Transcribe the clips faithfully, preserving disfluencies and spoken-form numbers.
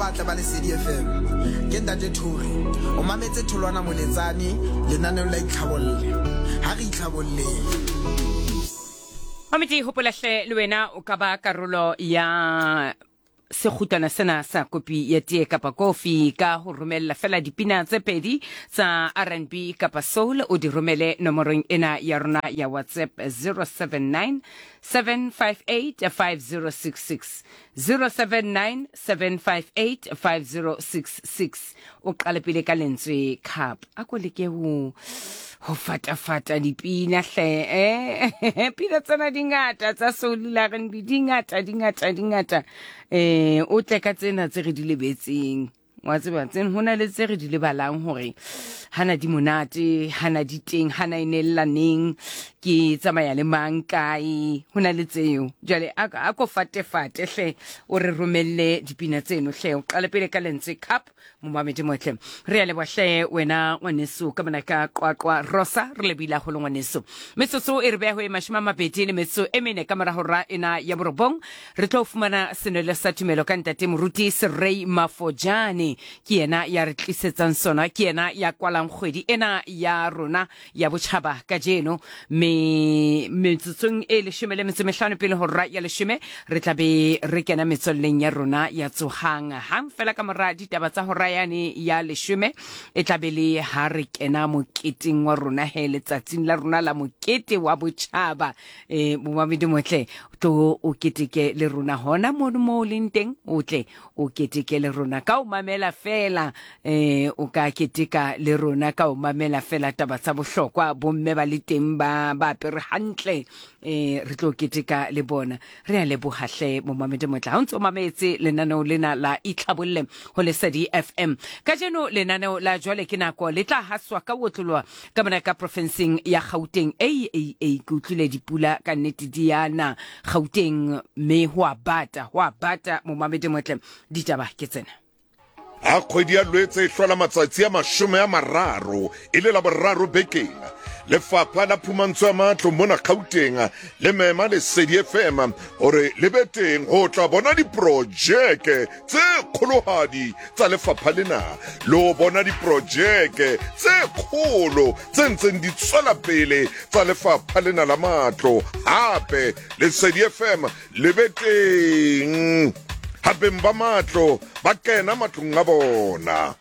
batle ba Lesedi F M. Ke Ntate Thuri. O mametse Tholwana Moletsane lenaneong la Itlhabolle. Ha re itlhabolleng. Mamedi, hopola hle le wena o ka ba karolo ya sekgutlwana sena sa kopi ya tee kapa kofi ka ho romella fela dipina tse pedi tsa R and B kapa soul, o di romele nomorong ena ya rona ya WhatsApp zero seven nine seven five eight five zero six six, zero seven nine seven five eight five zero six six. O qale pele ka lentswe cup, a ko leke ho ho fatafata dipina hle, eh pina tsena di ngata tsa soul la R and B, di ngata di ngata di ngata, eh o tle ka tsena tse re di lebetseng. Wa tseba tsena hona le tse re di lebalang hore hana di monate, hana di teng, hana e nellaneng, ke tsamaya le mang kae, hona le tseo. Jwale a, a ko fate fate hle, o re romelle dipina tseno hle. O qale pele ka lentswe cup, momamedi motle. Re a leboha hle wena ngwaneso ka mona ka Qwaqwa Rosa, re lebile haholo ngwaneso. Metsotso e re beha ho e mashome a mabedi le metso e mene ka mora hora ena ya borobong. Re tlo fumana senwelo sa tumelo ka ntate Moruti Serei Mafojane. Ke yena ya re tlisetsang sona, ke yena ya kwalang kgwedi ena ya rona ya botjhaba kajeno. Me metsotsong e leshome le metso e mehlano pele hora ya leshome re tla be re kena metswalleng ya rona ya tsohang. Hang fela ka mora ditaba tsa hora yane ya leshome e tla be le ha re kena moketeng wa rona he, letsatsing la rona la mokete wa botjhaba. Eh momamedi motle, tlo o keteke le rona hona mono mo o leng teng, o tle o keteke le rona ka o mamela fela, eh o ka keteka le rona ka o mamela fela taba tsa bohlokwa, bomme ba le teng ba ba apere hantle, eh re tlo keteka le bona. Re a leboha hle momamedi motle ha o ntso mametse lenaneo lena la Itlhabolle ho Lesedi F M. Kajeno lenaneo la jwale ke nako le tla haswa ka otloloha ka mona ka profenseng ya Gauteng. Ei ei ei, ke utlwile dipula ka nnete di yana Gauteng, mme ho a bata, ho a bata momamedi motle. Ditaba ke tsena. Ha kgwedi ya Lwetse e hlola matsatsi a mashome a mararo e le la boraro bekeng, Lefapha la Phumantsho ya Matlo mona Gauteng le mema Lesedi F M hore le be teng ho tla bona diprojeke tse kgolohadi tsa lefapha lena, le ho bona diprojeke tse kgolo tse ntseng di tswela pele tsa lefapha lena la matlo. Hape Lesedi F M le be teng ha beng ba matlo ba kena matlong a bona.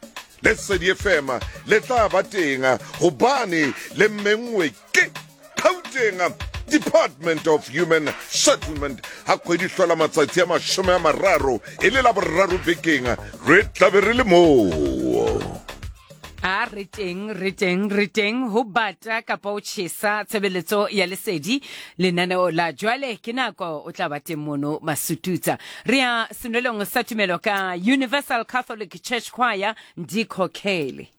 Lesedi F M le tla ba teng hobane le menngwe ke Gauteng Department of Human Settlement. Ha kgwedi hlola matsatsi a mashome a mararo e le la boraro bekeng, re tla be re le moo. A re teng, re teng, re teng ho bata kapa ho tjhesa tshebeletso ya Lesedi lenaneo la jwale ke nako o tla ba teng mono Masututsa. Re ya senwelong sa tumelo ka Universal Catholic Church Choir Ndikhokhele.